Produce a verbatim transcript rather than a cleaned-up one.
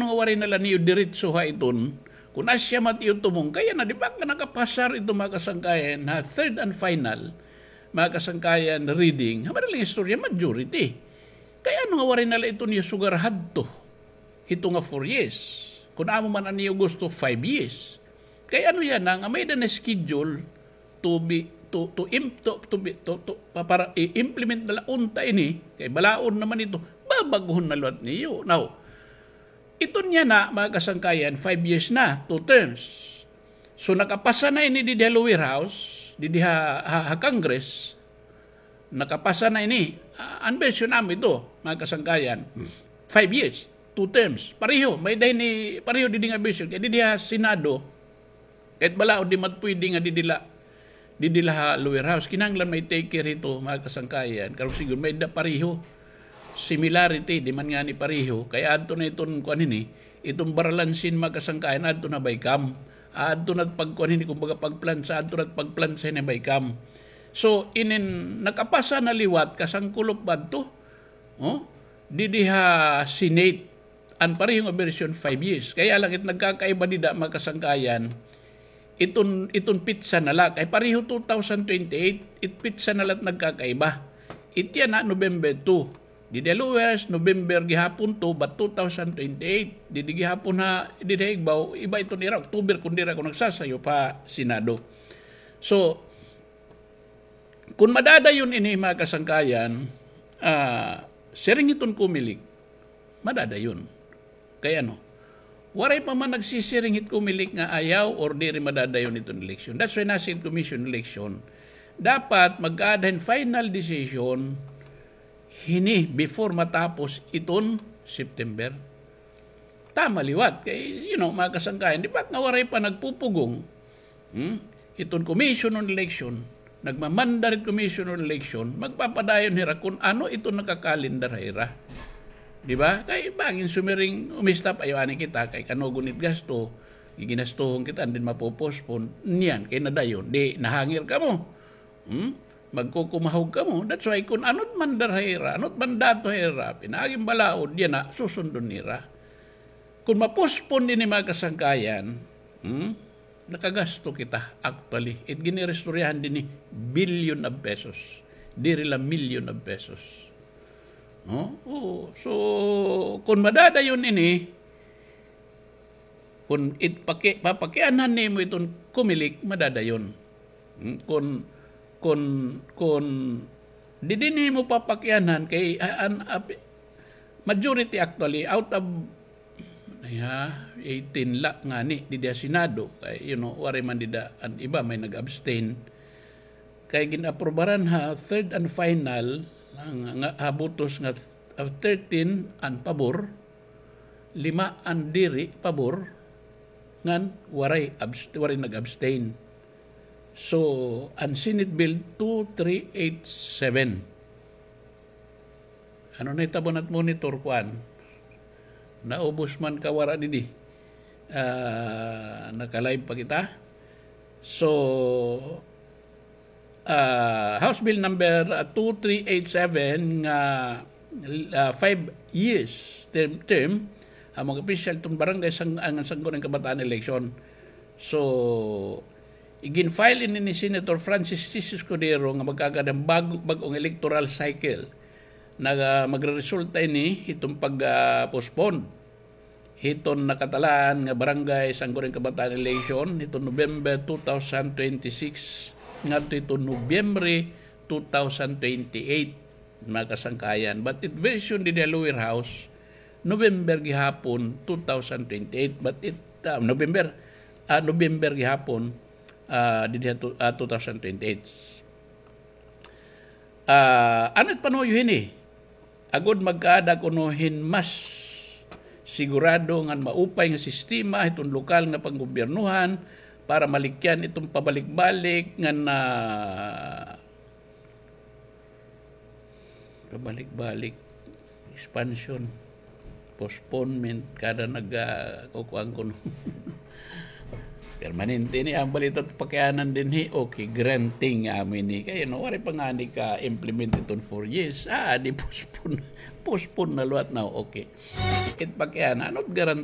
nga waray na la niyo diretso ha iton, kun asya man it iyo tumong, kay yana, di ba, nga nakapasar ito, mga kasangkayan, ha third and final, mga kasangkayan, reading, ha madaling istorya, majority. Kay ano nga waray na la ito niyo sugar hadto? Ito nga four years. Kun amo man an iyo gusto, five years. Kay ano yana nga may-ada na schedule to be, to, to im-, to, to be, to, to, pa-, para i-implement na la unta ini, kay balaod naman ito, babag-ohon na liwat niyo. Now, iton yana, mga kasangkayan, five years na, two terms. So, nakapasa na ini didi ha lower house, didi ha, ha, ha Congress, nakapasa na ini. Ah, an version amo ito, mga kasangkayan. Five years, two terms. Pareho, may-ada ini, pareho didi nga version. Kay didi ha Senado, kahit balaod, di man pwede nga didi la, didi la ha lower house. Kinahanglan may take care hito, mga kasangkayan. Karuyag siguro may-ada pareho. Similarity, di man ngani pareho. Kay adto na iton, kuan ini, iton baralansin, mga kasangkayan, adto na BICAM. Adto na pagkuan ini, kumbaga pagplansa, adto na pagplansa ini BICAM. So, inin nakapasa na liwat, kasangkulop ba adto? Oh? Didi ha Senate, an pareho nga version, five years. Kaya lang, it nagkakaiba dida, mga kasangkayan, iton, iton pitsa na la. Kay pareho two thousand twenty-eight, it pitsa na la it nagkakaiba. It yana, November two. Didi ha lower house, November gihapon two, but two thousand twenty-eight. Didi gihapon ha, didi ha igbaw, iba iton ira, October, kun diri ako nagsasayop, ha Senado. So, kun madadayon ini, mga kasangkayan, ah, siring hiton COMELEC, madadayon. Kay ano? Waray pa man nagsisiring hit COMELEC nga ayaw or diri madadayon iton eleksyon. That's why nasiring commission election. Dapat magkaada hin final decision hini before matapos iton September. Tama liwat kay, you know, mga kasangkayan, di ba nga waray pa nagpupugong? Hmm? Iton Commission on Election, nagmamanda hit Commission on Election, magpapadayon hira kun ano iton nakakalendar ha ira. Di ba? Kay bangin sumiring, umistop, ayaw anay kita, kay kanugon it gasto, giginastuhon kita, and then mapo-postpone, niyan, kay nadayon, di nahangir kamo. Hmm? Magkukumahog kamo. That's why kun ano it mandar ha ira, ano it mandato ha ira, pinaagi hin balaod, yana, susundon nira. Kun ma-postpone ini, mga kasangkayan, hmm, nakagasto kita, actually. It giniristoryahan dinhi, billion of pesos. Diri la million of pesos. No? Oo. So, kun madadayon ini, kun it paki-, papakianhan nimo iton COMELEC, madadayon. Hmm, kun, kun, kun didi nimo papakianhan kay, ah, an, ap-, majority actually out of, ya, eighteen la ngani didi ha Senado kay, you know, waray man dida an iba, may nag-abstain. Kay gin-aprobaran ha third and final, nga, nga, ha botos nga, ah, thirteen an pabor, lima an diri pabor, ngan waray abst-, waray nag-abstain. So, an Senate Bill two three eight seven. Ano nahitabo, nat-monitor, kuan? Naubos man ka wara didi? Ah, naka-live pa kita. So, ah, House Bill number, ah, two three eight seven nga, ah, five years term, term, an mga opisyal iton barangay sang-, an sangguniang kabataan election. So, igin-file ini ni Senator Francis Chiz Escudero nga magkaada hin bag-, bag-ong electoral cycle. Naga-, magreresulta ini hiton pag, ah, postpone hiton nakatalaan nga barangay sangguniang kabataan election hiton November two thousand twenty-six ngadto hiton Nobyembre two thousand twenty-eight, mga kasangkayan. But it version didi ha lower house, November gihapon two thousand twenty-eight. But it, ah, November, ah, November gihapon, ah, didi ha tu-, ah, two thousand twenty-eight. Ah, ano it panuyo hini? Agod magkaada kuno hin mas sigurado ngan maupay nga sistema hiton lokal nga panggobyernohan para malikyan iton pabalik-balik ngan, ah, pabalik-balik, expansion, postponement, kada nag, ah, kukuan kuno. Permanente ini, an bali ito pakianan dinhi, okay, granting amo ini. Kay, no, waray pa ngani ka-implement iton four years. Ah, di postpone. Postpone na liwat na, okay. It pakianan, ano it guarantee